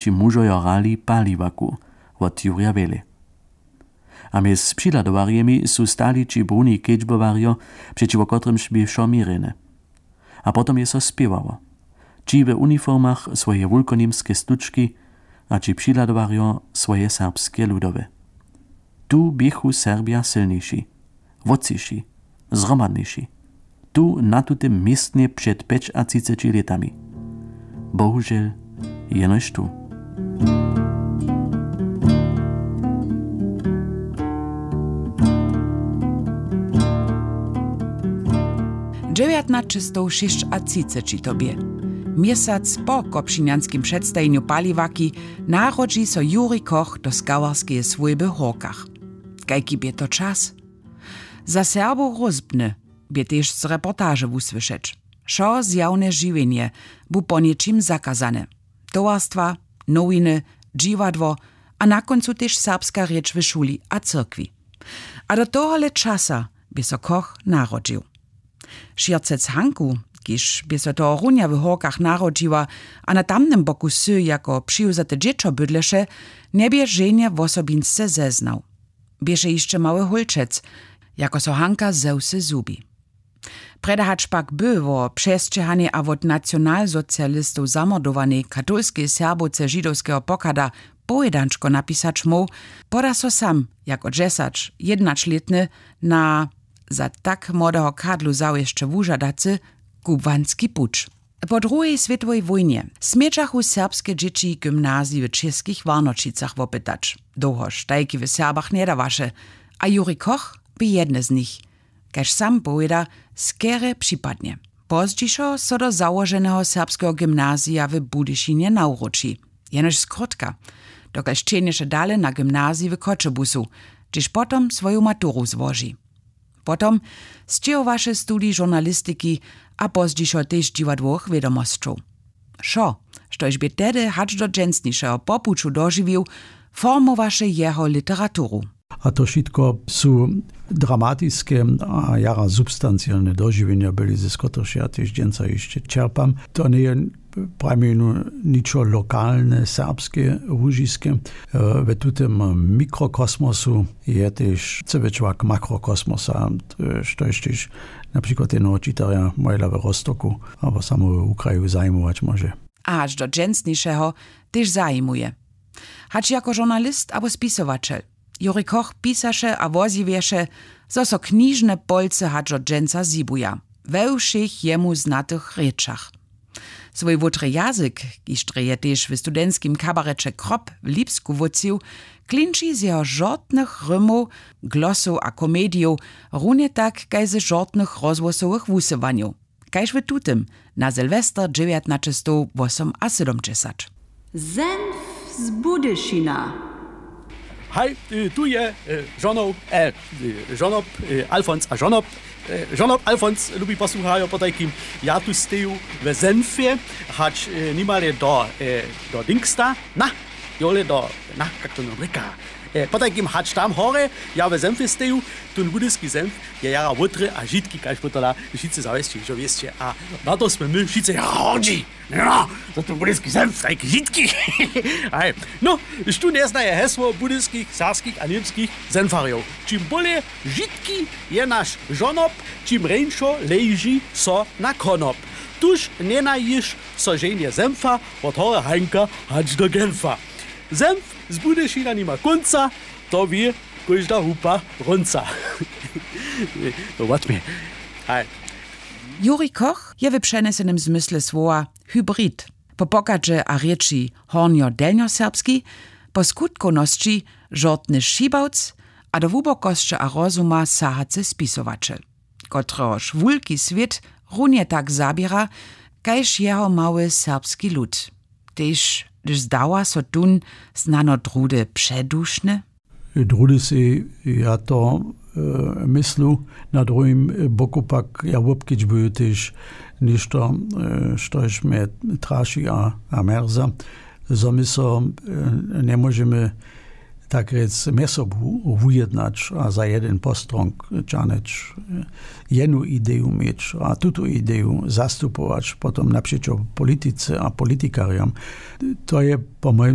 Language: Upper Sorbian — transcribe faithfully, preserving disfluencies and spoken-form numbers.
Ći mužojo hrali paliwaku wot Jurja Wjele. A mjez přihladowarjemi su stali ći bruni kedźbowarjo, přećiwo kotrymž bě wšo měrjene. A potom je so spěwało. Ći w uniformach swoje wulkoněmske stučki a ći přihladowarjo swoje serbske ludowe. Tu běchu Serbja sylniši, wótřiši, zhromadniši. Tu na tutym městnje před pjećatřiceći lětami. Bohužel jenož tu. Dźewjatnaćestowšěsćatřiceći to bě. Měsac po kopšinjanskim předstajenju paliwaki narodźi so Juri Koch do skałarskeje swójby w Hórkach. Kajki bě to čas? Za Serbow rózbny bě tež z reportaže wusłyšeć. Wšo zjawne žiwjenje bu po něčim zakazane. Towarstwa, nowiny, dźiwadło a na kóncu tež serbska rěč w šuli a cyrkwi. A do tohole časa bě so Koch narodźił. Šěrcec Hanku, kiž bě so tohorunja w Hórkach narodźiła a na tamnym boku wsy jako přiwzate dźěćo bydleše, njebě ženje wosobinsce zeznał. Běše hišće mały hólčec, jako so Hanka ze wsy zhubi. Prjedy hač pak by wo přesćěhanej a wot nacionalsocialistow zamordowanej katolskej Serbowce židowskeho pochada powědančko napisać móhł, poda so sam jako dźesać-, jědnaćlětny na za tak młodeho kadlu zawěsće wužadacy kubłanski puć. Po druhej swětowej wójnje smědźachu serbske dźěći gymnazij w Českich Warnoćicach wopytać. Dołhož tajki w Serbach njedawaše, a Juri Koch bě jedne z nich, kaž sam powěda, skerje připadnje. Pozdźišo so do załoženeho serbskeho gymnazija w Budyšinje nawróći. Jenož skrótka, dokelž ćehnješe dale na gymnazij w Choćebuzu, hdźež potom swoju maturu złoži. Potom sćěhowaše studij žurnalistiki a pozdźišo tež dźiwadłowych wědomosćow. Wšo, štož bě tehdy hač do dźensnišeho po puću dožiwił, formowaše jeho literaturu. A to wšitko su dramatiske a jara substancialne dožiwjenja byli, z kotrychž ja tež dźensa hišće čerpam. To njeje prajmjenu ničo lokalne, serbske, łužiske. E, w tutym mikrokosmosu je tež cyły čłak makrokosmosa, e, štož tež na přikład jednoho čitarja Mojla w Rostoku abo samo w Ukraju zajimować móže. A hač do dźensnišeho tež zajimuje. Hač jako žurnalist abo spisowaćel, Juri Koch pisaše a wozjewješe, zo so knižne polcy hač do dźensa zhibuja we wšěch jemu znatych rěčach. Swój wótry jazyk, kiž drje je tež w studentskim kabareće Krop w Lipsku wótřił, klinči z jeho žortnych rymow, glosow a komedijow, runje tak kaž ze žortnych rozhłosowych wusyłanjow, kaž w tutym na Sylwester dźewjatnaćestowwosomasydomdźesat. Senf z Budyšina. Haj, y, tu je, y, žonow, e, y, žonob, y, Alfons a žonob. Y, žonob Alfons, lubi posłucharjo, potajkim, ja tu steju we Senfje, hač, y, nimale do, y, do Dingsta, na, jole do, na, kak to nam rěka. E, potajkim hač tam hore, ja we Senfje steju, tón budyski Senf je jara wótry a žitki, kaž potom wšitcy zawěsće, hižo wěsće. A na to smy my wšitcy jara hordźi. No, za tón budyski Senf, tajki žitki. Haj. No, štó njeznaje hesło budyskich, serbskich a němskich Senfarjow? Čim bóle žitki je naš žonob, čim rjeńšo leži so na konop. Tuž njenajiš so ženje Senfa wot hory Hanka hač do Genfa. Senf z Budyšina nima kónca, to wě kóžda hupa Brunca. To wot mje. Haj. Juri Koch je w přenesenym zmysle słowa hybrid. Po pochadźe a rěči hornjo-delnjoserbski, po skutkownosći žortny šibawc a do hłubokosće a rozuma sahacy spisowaćel, kotrehož wulki swět runje tak zaběra kaž jeho mały serbski lud. Tež hdyž zdawa so tón snano druhdy předušny. Druhdy sej ja to, e, myslu, na druhim boku pak ja wobkedźbuju tež něšto, e, štož mje traši a, a mjerza, zo my so, e, njemóžemy tak rjec mjez sobu wujednać a za jedyn postrong ćahnyć, e, jednu ideju měć a tutu ideju zastupować potom napřećo politice a politikarjam. To je po mojim